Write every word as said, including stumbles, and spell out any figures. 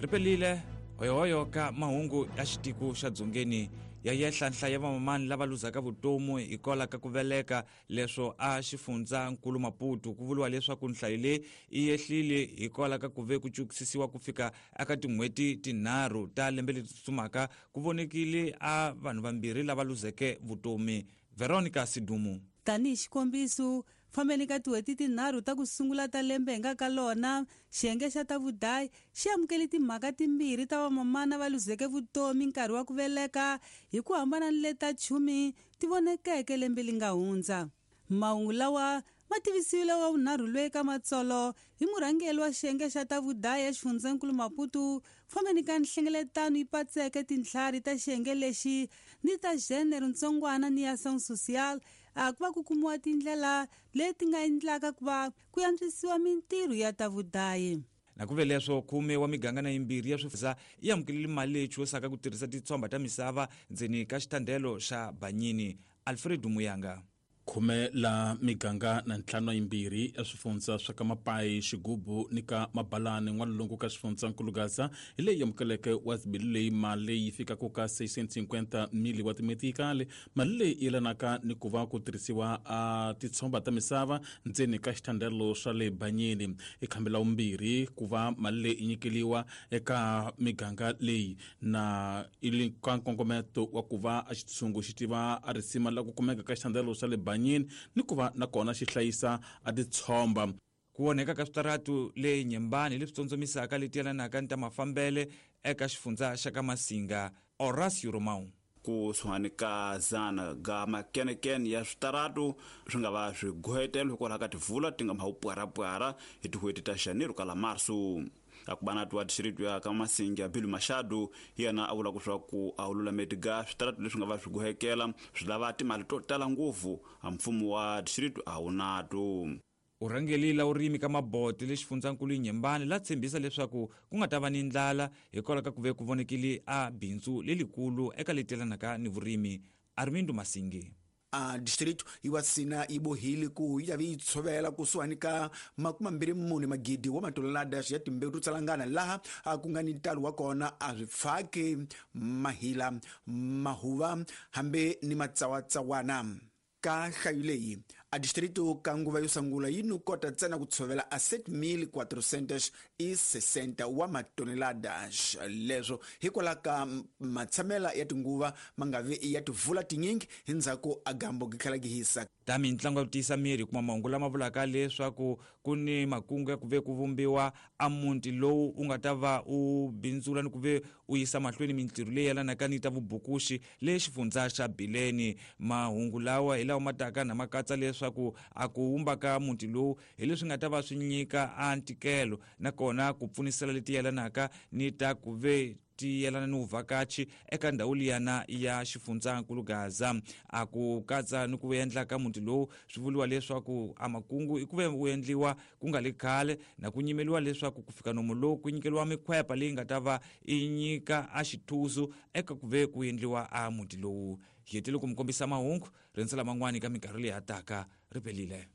Ripelile hoyohoyo ka mahungu ya xitiko xa dzongeni ya yehla nhlayo ya vamamani lava luzaka vutomi hikwalaho ka ku veleka leswo a xifundza nkulu Maputo. Ku vuriwa leswaku nhlayo leyi yi yehlile hikwalaho ka ku ve ku cukisisiwa ku fika eka tin'hweti tinharhu ta lembe leri tsutsumaka ku vonekile a vanhu vambirhi lava luzeke vutomi. Veronica Sidumu. Tanihi xikombiso, fambeni ka tin'hweti tinharhu ta ku sungula ta lembe hi nga ka lona, xiyenge xa ta vudayi xi amukele timhaka timbirhi ta vamamana va luzeke vutomi nkarhi wa ku veleka hi ku hambana ni leta chumi ti vonekeke lembe li nga hundza. Mahungu lawa ma tivisiwile wa vunharhu loyi ka matsolo hi murhangeri wa xiyenge xa ta vudayi exifundzhenkulu Maputo, fambeni ka nhlengeletano yi patseke tintlhari ta xiyenge lexi ni ta genre ntsongwana ni ya ação social a ku va ku kumiwa tindlela leti nga endlaka ku va ku antswisiwa mintirho ya ta vudayi. Na ku ve leswo khume wa miganga na yimbirhi ya swifundzha yi amukelile mali leyi chuwisaka ku tirhisa titshomba ta misava ndzeni ka xitandelo xa Banyini. Alfred Muyanga. Khume la miganga na ntlhanu yimbirhi ya swifundza swa ka Mapai, Xigubu ni ka Mabalani n'walungu ka xifundzankulu Gaza hi leyi amukeleke wa zibili leyi mali yi fikaka ka seiscientos e cinquenta mili wa timetikali. Mali leyi yelanaka ni ku va ku tirhisiwa a titshomba ta misava ndzeni ka xitandelo swa le Banyini. I khambi la vumbirhi ku va mali leyi nyikeliwa eka miganga leyi na ili ka nkongometo wa ku va a xitshungu xi tiva a risima la ku kumeka ka xitandelo swa le Banyini ni ku va na kona xi hlayisa a titshomba. Ku onheka ka switaratu le Nyembani leswi tsondzomisaka leti yelanaka ni ta mafambele eka xifundza xa ka Masinga. Horacio Romão. Ku suhani ka zana ga makenekene ya switaratu swi nga va swi gohetelo hikwalaho ka tivula ti nga ma pwarapwara hi tin'hweti ta janeiro ka la marso. Akubanatu wa distrito ya ka Masinga Bilu Machado hi yena a vula leswaku a wu lulameti ga switaratu leswi nga va swi gohekela swi lava timali to tala ngopfu a mfumo wa distrito a wu nato. U rhangelile urimi ka Mabote le xifundzankulu Nyembani la tshembisa leswaku ku nga ta va ni ndlala hikwalaho ka ku ve ku vonekile a bindzu lelikulu eka leti yelanaka ni vurimi. Armindo Masingi. A distrito yi wa sina yi bohile ku yi ta yi tshovela kusuhani ka makume mbirhi mune magidi wa matonelada ya timbewu to tsalangana laha a ku nga ni ntalo wa kona a swi pfaki mahila mahuva hambi ni matsawatsawana. Ka nhlayo leyi a distrito ka nguva yo sungula yi no kota ntsena ku tshovela a sete mil quatrocentos e sessenta wa matoneladas. Leswo hikwalaho ka matshamela ya tinguva ma nga vi ya tivula tinyingi hi ndzhaku a gambo gi tlhela gi hisa. Ta mintlangu ya ku tiyisa miri kuma mahungu lama vulaka leswaku ku ni makungu ya ku ve ku vumbiwa a muti lowu u nga ta va u bindzula ni ku ve u yisa mahlweni mintirho leyi yelanaka ni ta vubukuxi le xifundza xa Bileni. Mahungu lawa hi lawa ma taka na ma katsa leswaku a ku wumba ka muti lowu hi leswi nga ta va swi nyika a ntikelo nakona ku pfunisela leti yelanaka ni ta ku ve ti yelana ni vuvhakachi eka ndhawu liyana ya xifundzankulu Gaza. A ku katsa ni ku endla ka muti lowu swi vuriwa leswaku a makungu i ku ve wu endliwa ku nga le khale na ku nyimeliwa leswaku ku fika nomo lowu ku nyikeliwa mikhwepa leyi nga ta va i nyika a xithuzu eka ku ve ku endliwa a muti lowu. Hi hetile ku mi kombisa mahungu rindzela man'wani ka minkarhi leyi hataka. Ripelile.